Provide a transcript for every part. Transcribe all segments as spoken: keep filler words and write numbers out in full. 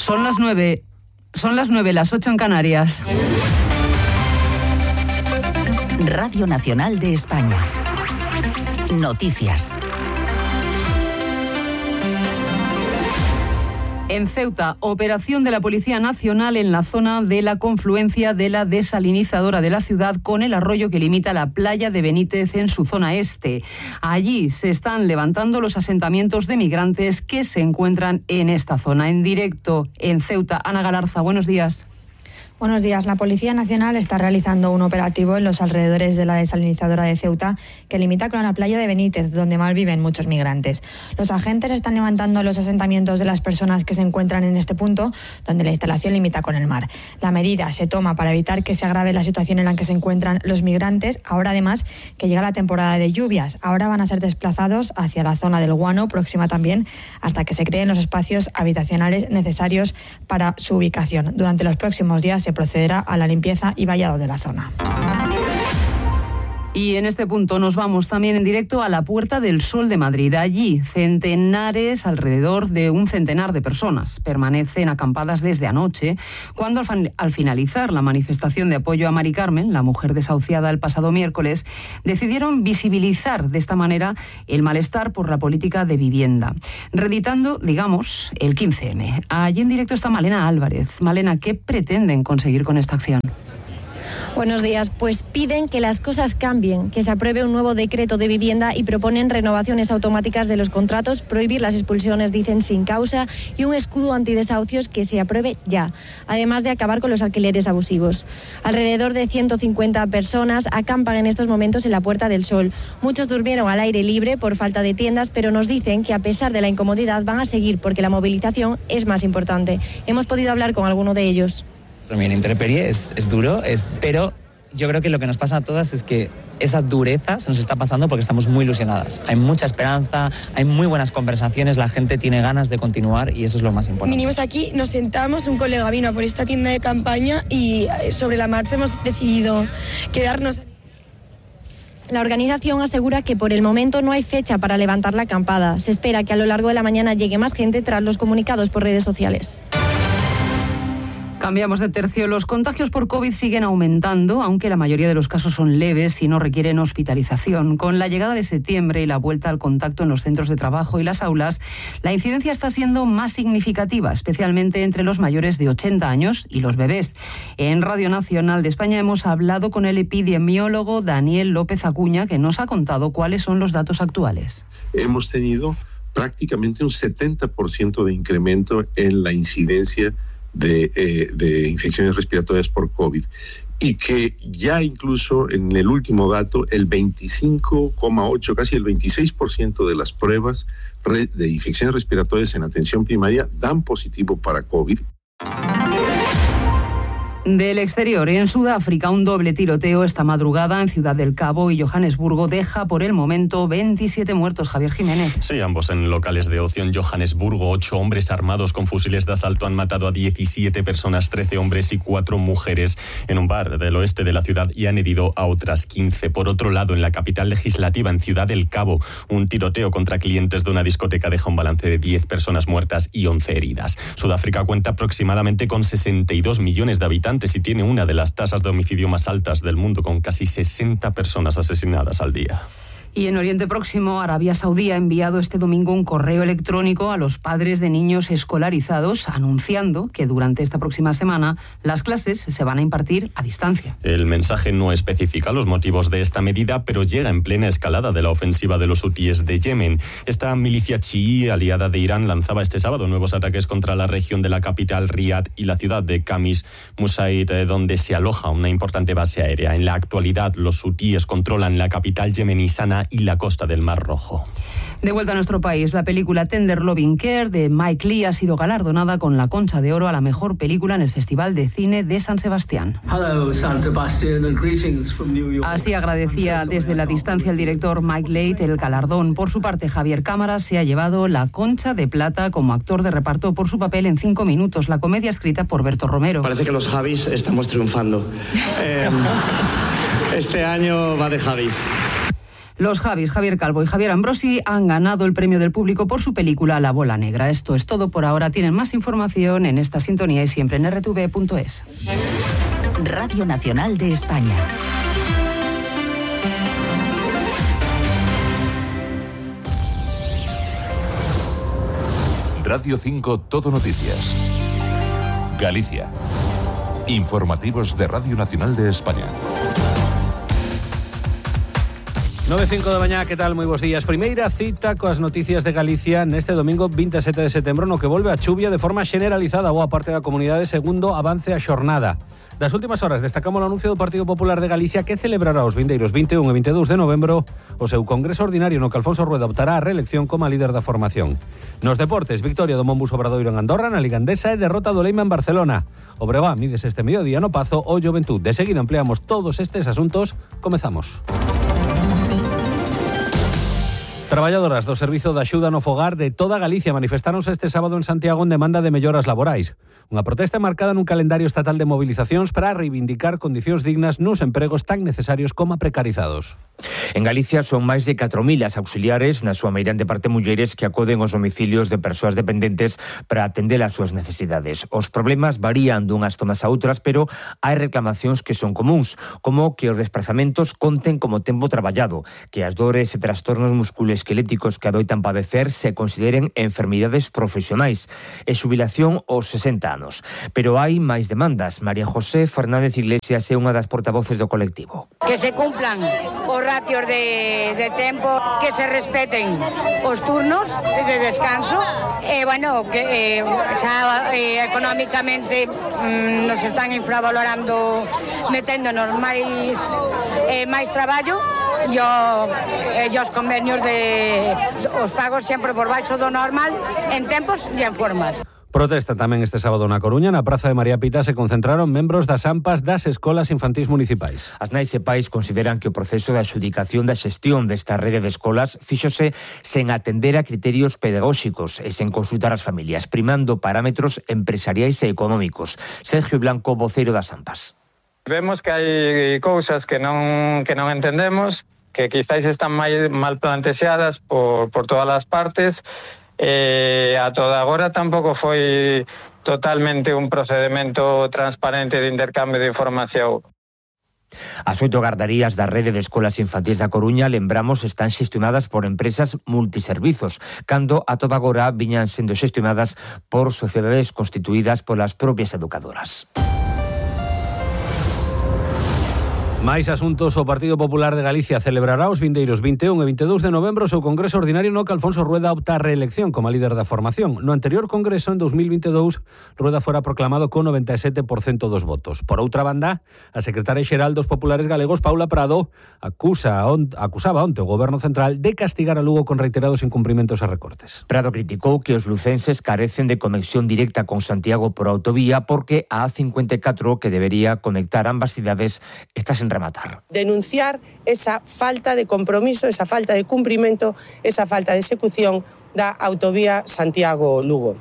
Son las nueve, son las nueve, las ocho en Canarias. Radio Nacional de España. Noticias. En Ceuta, operación de la Policía Nacional en la zona de la confluencia de la desalinizadora de la ciudad con el arroyo que limita la playa de Benítez en su zona este. Allí se están levantando los asentamientos de migrantes que se encuentran en esta zona. En directo en Ceuta, Ana Galarza, buenos días. Buenos días. La Policía Nacional está realizando un operativo en los alrededores de la desalinizadora de Ceuta que limita con la playa de Benítez, donde malviven muchos migrantes. Los agentes están levantando los asentamientos de las personas que se encuentran en este punto, donde la instalación limita con el mar. La medida se toma para evitar que se agrave la situación en la que se encuentran los migrantes, ahora además que llega la temporada de lluvias. Ahora van a ser desplazados hacia la zona del Guano, próxima también, hasta que se creen los espacios habitacionales necesarios para su ubicación. Durante los próximos días se procederá a la limpieza y vallado de la zona. Y en este punto nos vamos también en directo a la Puerta del Sol de Madrid. Allí, centenares, alrededor de un centenar de personas, permanecen acampadas desde anoche, cuando al, fan, al finalizar la manifestación de apoyo a Mari Carmen, la mujer desahuciada el pasado miércoles, decidieron visibilizar de esta manera el malestar por la política de vivienda, reeditando, digamos, el quince eme. Allí en directo está Malena Álvarez. Malena, ¿qué pretenden conseguir con esta acción? Buenos días. Pues piden que las cosas cambien, que se apruebe un nuevo decreto de vivienda y proponen renovaciones automáticas de los contratos, prohibir las expulsiones, dicen, sin causa, y un escudo antidesahucios que se apruebe ya, además de acabar con los alquileres abusivos. Alrededor de ciento cincuenta personas acampan en estos momentos en la Puerta del Sol. Muchos durmieron al aire libre por falta de tiendas, pero nos dicen que a pesar de la incomodidad van a seguir porque la movilización es más importante. Hemos podido hablar con alguno de ellos. También intemperie, es, es duro, es, pero yo creo que lo que nos pasa a todas es que esa dureza se nos está pasando porque estamos muy ilusionadas. Hay mucha esperanza, hay muy buenas conversaciones, la gente tiene ganas de continuar y eso es lo más importante. Vinimos aquí, nos sentamos, un colega vino a por esta tienda de campaña y sobre la marcha hemos decidido quedarnos. La organización asegura que por el momento no hay fecha para levantar la acampada. Se espera que a lo largo de la mañana llegue más gente tras los comunicados por redes sociales. Cambiamos de tercio. Los contagios por COVID siguen aumentando, aunque la mayoría de los casos son leves y no requieren hospitalización. Con la llegada de septiembre y la vuelta al contacto en los centros de trabajo y las aulas, la incidencia está siendo más significativa, especialmente entre los mayores de ochenta años y los bebés. En Radio Nacional de España hemos hablado con el epidemiólogo Daniel López Acuña, que nos ha contado cuáles son los datos actuales. Hemos tenido prácticamente un setenta por ciento de incremento en la incidencia De, eh, de infecciones respiratorias por COVID y que ya incluso en el último dato el veinticinco coma ocho, casi el veintiséis por ciento de las pruebas de infecciones respiratorias en atención primaria dan positivo para COVID. Del exterior, en Sudáfrica, un doble tiroteo esta madrugada en Ciudad del Cabo y Johannesburgo deja por el momento veintisiete muertos. Javier Jiménez. Sí, ambos en locales de ocio en Johannesburgo. Ocho hombres armados con fusiles de asalto han matado a diecisiete personas, trece hombres y cuatro mujeres en un bar del oeste de la ciudad y han herido a otras quince. Por otro lado, en la capital legislativa, en Ciudad del Cabo, un tiroteo contra clientes de una discoteca deja un balance de diez personas muertas y once heridas. Sudáfrica cuenta aproximadamente con sesenta y dos millones de habitantes y tiene una de las tasas de homicidio más altas del mundo, con casi sesenta personas asesinadas al día. Y en Oriente Próximo, Arabia Saudí ha enviado este domingo un correo electrónico a los padres de niños escolarizados anunciando que durante esta próxima semana las clases se van a impartir a distancia. El mensaje no especifica los motivos de esta medida, pero llega en plena escalada de la ofensiva de los hutíes de Yemen. Esta milicia chií aliada de Irán lanzaba este sábado nuevos ataques contra la región de la capital Riad y la ciudad de Khamis Musaid, donde se aloja una importante base aérea. En la actualidad, los hutíes controlan la capital yemení Sanaa y la costa del Mar Rojo. De vuelta a nuestro país, la película Tender Loving Care de Mike Leigh ha sido galardonada con la Concha de Oro a la mejor película en el Festival de Cine de San Sebastián. Hello, San Sebastian, and greetings from New York. Así agradecía desde la distancia el director Mike Leigh el galardón. Por su parte, Javier Cámara se ha llevado la Concha de Plata como actor de reparto por su papel en Cinco minutos, la comedia escrita por Berto Romero. Parece que los Javis estamos triunfando. eh, este año va de Javis. Los Javis, Javier Calvo y Javier Ambrosi, han ganado el premio del público por su película La bola negra. Esto es todo por ahora. Tienen más información en esta sintonía y siempre en erre te ve punto es. Radio Nacional de España. Radio cinco Todo Noticias. Galicia. Informativos de Radio Nacional de España. nove e cinco da mañá, que tal? Moi bons días. Primeira cita coas noticias de Galicia neste domingo vinte e sete de setembro, no que volve a chuvia de forma generalizada a boa parte da comunidade segundo avance a xornada. Das últimas horas destacamos o anuncio do Partido Popular de Galicia que celebrará os vindeiros vinte e un e vinte e dous de novembro o seu congreso ordinario no que Alfonso Rueda optará a reelección como líder da formación. Nos deportes, victoria do Monbus Obradoiro en Andorra, na Liga Endesa e derrota do Leima en Barcelona. O Breogán mides este mediodía no Pazo o Juventud. De seguida empleamos todos estes asuntos. Comezamos. Traballadoras do Servizo de Axuda no Fogar de toda Galicia manifestáronse este sábado en Santiago en demanda de melloras laborais. Unha protesta marcada nun calendario estatal de movilizacións para reivindicar condicións dignas nos empregos tan necesarios como precarizados. En Galicia son máis de catro mil as auxiliares, na súa meirande parte mulleres, que acoden aos domicilios de persoas dependentes para atender as súas necesidades. Os problemas varían dunhas zonas a outras, pero hai reclamacións que son comuns, como que os desprazamentos conten como tempo traballado, que as dores e trastornos musculoesqueléticos que adoitan padecer se consideren enfermidades profesionais e xubilación aos sesenta anos. Pero hai máis demandas. María José Fernández Iglesias é unha das portavoces do colectivo. Que se cumplan os ratios de, de tempo, que se respeten os turnos de descanso e, bueno, que eh, xa eh, económicamente mm, nos están infravalorando, meténdonos máis eh, máis traballo e eh, os convenios de os pagos sempre por baixo do normal en tempos e en formas. Protesta tamén este sábado na Coruña. Na Praza de María Pita se concentraron membros das AMPAs das escolas infantís municipais. As nais e pais consideran que o proceso de adxudicación da xestión desta rede de escolas fíxose sen atender a criterios pedagóxicos e sen consultar as familias, primando parámetros empresariais e económicos. Sergio Blanco, voceiro das AMPAs. Vemos que hai cousas que non que non entendemos, que quizáis están mal, mal plantexadas por, por todas as partes. Eh, a toda agora tampouco foi totalmente un procedimento transparente de intercambio de información. As oito gardarías da rede de escolas infantís da Coruña, lembramos, están xestionadas por empresas multiservizos, cando a toda agora viñan sendo xestionadas por sociedades constituídas polas propias educadoras. Máis asuntos. O Partido Popular de Galicia celebrará os vindeiros vinte e un e vinte e dous de novembro o seu congreso ordinario no que Alfonso Rueda opta a reelección como líder da formación. No anterior congreso, en dos mil vinte e dous, Rueda fora proclamado con noventa e sete por cento dos votos. Por outra banda, a secretaria xeral dos populares galegos, Paula Prado, acusa on, acusaba onte o Goberno Central de castigar a Lugo con reiterados incumprimentos e recortes. Prado criticou que os lucenses carecen de conexión directa con Santiago por autovía porque a A cincuenta e catro, que debería conectar ambas cidades, está sen rematar. Denunciar esa falta de compromiso, esa falta de cumprimento, esa falta de execución da autovía Santiago-Lugo.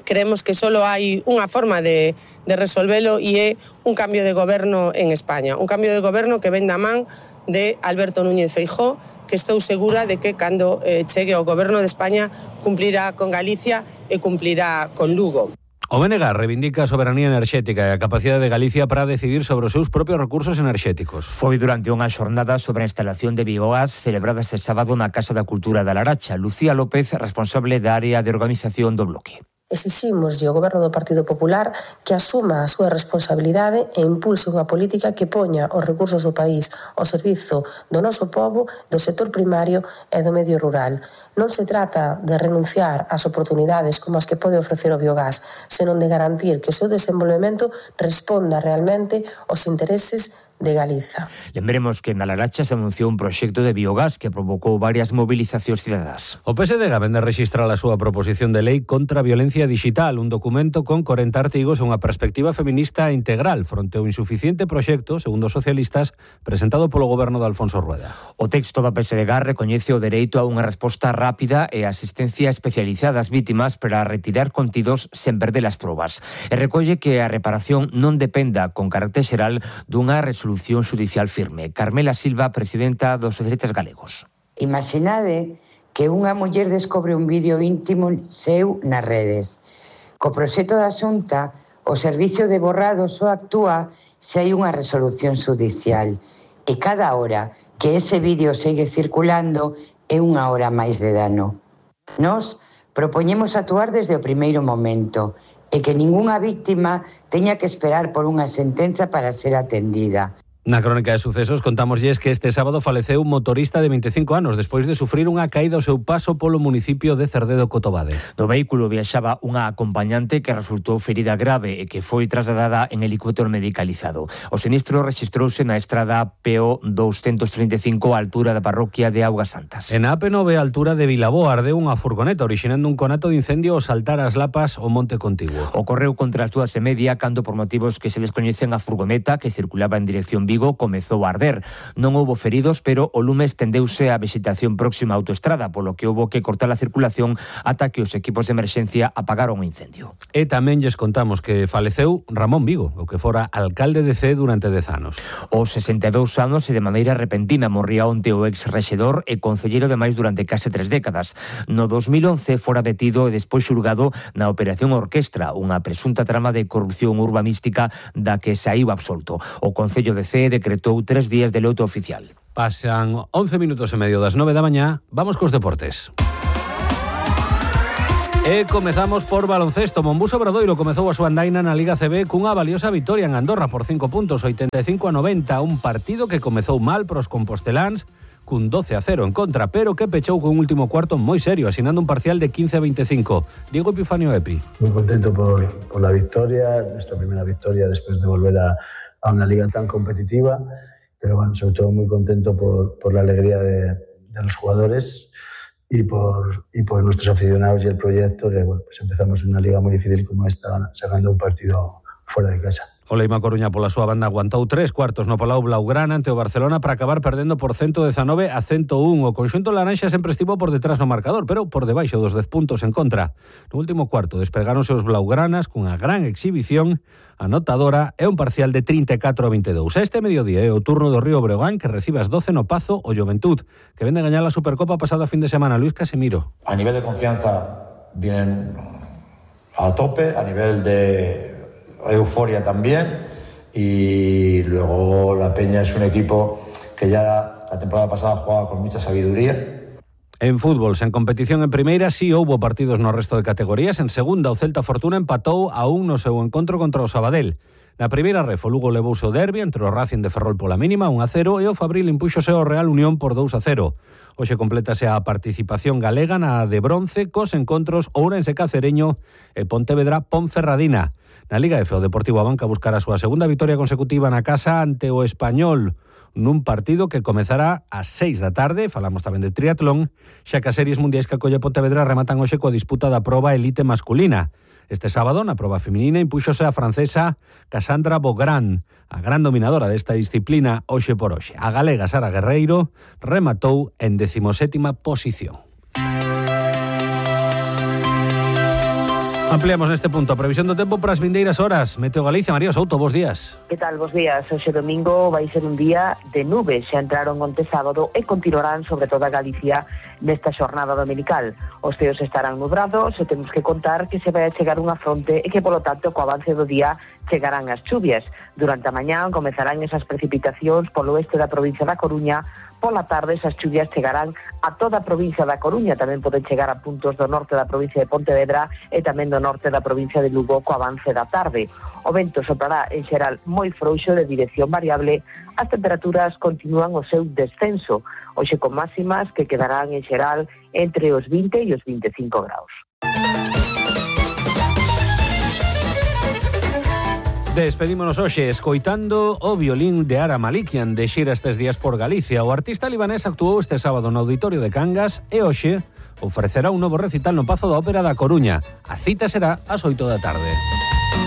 Creemos que solo hai unha forma de, de resolvelo e é un cambio de goberno en España. Un cambio de goberno que ven da man de Alberto Núñez Feijóo, que estou segura de que cando eh, chegue ao goberno de España cumplirá con Galicia e cumplirá con Lugo. O B N G reivindica a soberanía enerxética e a capacidade de Galicia para decidir sobre os seus propios recursos enerxéticos. Foi durante unha xornada sobre a instalación de biogás celebrada este sábado na Casa da Cultura da Laracha. Lucía López, responsable da área de organización do bloque. Exiximos ao Goberno do Partido Popular que asuma a súa responsabilidade e impulse unha política que poña os recursos do país ao servizo do noso pobo, do sector primario e do medio rural. Non se trata de renunciar ás oportunidades como as que pode ofrecer o biogás, senón de garantir que o seu desenvolvemento responda realmente aos intereses de Galiza. Lembremos que na Laracha se anunciou un proxecto de biogás que provocou varias movilizacións cidadás. O P S D vende a registrar a súa proposición de lei contra a violencia digital, un documento con corenta artigos e unha perspectiva feminista integral fronte ao insuficiente proxecto, segundo os socialistas, presentado polo goberno de Alfonso Rueda. O texto da P S D recoñece o dereito a unha resposta rápida e asistencia especializada ás vítimas para retirar contidos sen perder as probas. E recolle que a reparación non dependa con carácter xeral dunha resolución xudicial firme. Carmela Silva, presidenta dos Socialistas Galegos. Imaginade que unha muller descobre un vídeo íntimo seu nas redes. Co proxecto da Xunta, o Servicio de Borrado só actúa se hai unha resolución xudicial. E cada hora que ese vídeo segue circulando é unha hora máis de dano. Nós propoñemos actuar desde o primeiro momento e que ningunha víctima teña que esperar por unha sentenza para ser atendida. Na crónica de sucesos contámoslles que este sábado faleceu un motorista de vinte e cinco anos despois de sufrir unha caída ao seu paso polo municipio de Cerdedo Cotobade. No vehículo viaxaba unha acompañante que resultou ferida grave e que foi trasladada en helicóptero medicalizado. O sinistro rexistrouse na estrada P O doscientos treinta e cinco á altura da parroquia de Augas Santas. En a A P nove á altura de Vilaboa ardeu unha furgoneta orixinando un conato de incendio ao saltar as lapas ao Monte Contiguo. Ocorreu contra as dúas e media cando por motivos que se descoñecen a furgoneta que circulaba en dirección Vigo comezou a arder. Non houbo feridos, pero o lume estendeuse á vegetación próxima á autoestrada, polo que houbo que cortar a circulación ata que os equipos de emerxencia apagaron o incendio. E tamén lles contamos que faleceu Ramón Vigo, o que fora alcalde de Cee durante dez anos. Os sesenta e dous anos e de maneira repentina morría onte o ex-rexedor e concelleiro de máis durante case tres décadas. No dos mil once fora detido e despois xulgado na Operación Orquestra, unha presunta trama de corrupción urbanística da que saíu absolto. O Concello de Cee decretou tres días de loto oficial. Pasan once minutos e medio das nove da mañá. Vamos cos deportes. E comezamos por baloncesto. Monbuso Obradoiro comezou a súa andaina na Liga C B cunha valiosa vitoria en Andorra por cinco puntos, oitenta e cinco a noventa, un partido que comezou mal pros composteláns cun doce a cero en contra, pero que pechou con un último cuarto moi serio, asinando un parcial de quince a veinticinco. Diego Epifanio Epi. Muy contento por, por la victoria, nuestra primera victoria después de volver a a una liga tan competitiva, pero bueno, sobre todo muy contento por, por la alegría de, de los jugadores y por, y por nuestros aficionados y el proyecto, que bueno, pues empezamos una liga muy difícil como esta, sacando un partido fuera de casa. O Leima Coruña pola súa banda aguantou tres cuartos no Palau Blaugrana ante o Barcelona para acabar perdendo por ciento dezanove a ciento un. O conxunto laranxa sempre estivo por detrás no marcador, pero por debaixo dos dez puntos en contra. No último cuarto despegáronse os blaugranas cunha gran exhibición anotadora e un parcial de trinta e catro a veintidós. Este mediodía é o turno do Río Breogán, que recibe as doce no Pazo o Juventud, que vende a gañar a Supercopa pasada fin de semana. Luis Casemiro. A nivel de confianza vienen a tope, a nivel de euforia también, y luego la Peña es un equipo que ya la temporada pasada jugaba con mucha sabiduría. En fútbol, sen competición en primeira, sí houbo partidos no resto de categorías. En segunda, o Celta Fortuna empatou a un no seu encontro contra o Sabadell. Na primeira ref, o Lugo levouse o derbi entre o Racing de Ferrol pola mínima, un a cero, e o Fabril impúxose ao Real Unión por dous a cero. Hoxe complétase a participación galega na de bronce cos encontros Ourense Cacereño e Pontevedra Ponferradina. Na Liga F, o Deportivo Abanca buscará a súa segunda vitoria consecutiva na casa ante o Español, nun partido que comezará ás seis da tarde. Falamos tamén de triatlón, xa que as series mundiais que acolle Pontevedra rematan hoxe coa disputa da proba elite masculina. Este sábado, na proba feminina, impúxose a francesa Cassandra Beaugrand, a gran dominadora desta disciplina hoxe por hoxe. A galega Sara Guerreiro rematou en decimosétima posición. Ampliamos neste punto a previsión do tempo para as vindeiras horas. Meteo Galicia, María Souto, bos días. Que tal, bos días? Hoxe domingo vai ser un día de nubes. Xa entraron onte sábado e continuarán sobre toda Galicia nesta xornada dominical. Os ceos estarán nubrados e temos que contar que se vai a chegar unha fronte e que, polo tanto, co avance do día chegarán as chuvias. Durante a mañá comezarán esas precipitacións polo oeste da provincia da Coruña. Pola tarde esas chuvias chegarán a toda a provincia da Coruña, tamén poden chegar a puntos do norte da provincia de Pontevedra e tamén do norte da provincia de Lugo co avance da tarde. O vento soprará en xeral moi frouxo de dirección variable, as temperaturas continúan o seu descenso, hoxe con máximas que quedarán en xeral entre os vinte e os vinte e cinco graus. Despedímonos hoxe escoitando o violín de Ara Malikian de xira estes días por Galicia. O artista libanés actuou este sábado no Auditorio de Cangas e hoxe ofrecerá un novo recital no Pazo da Ópera da Coruña. A cita será ás oito da tarde.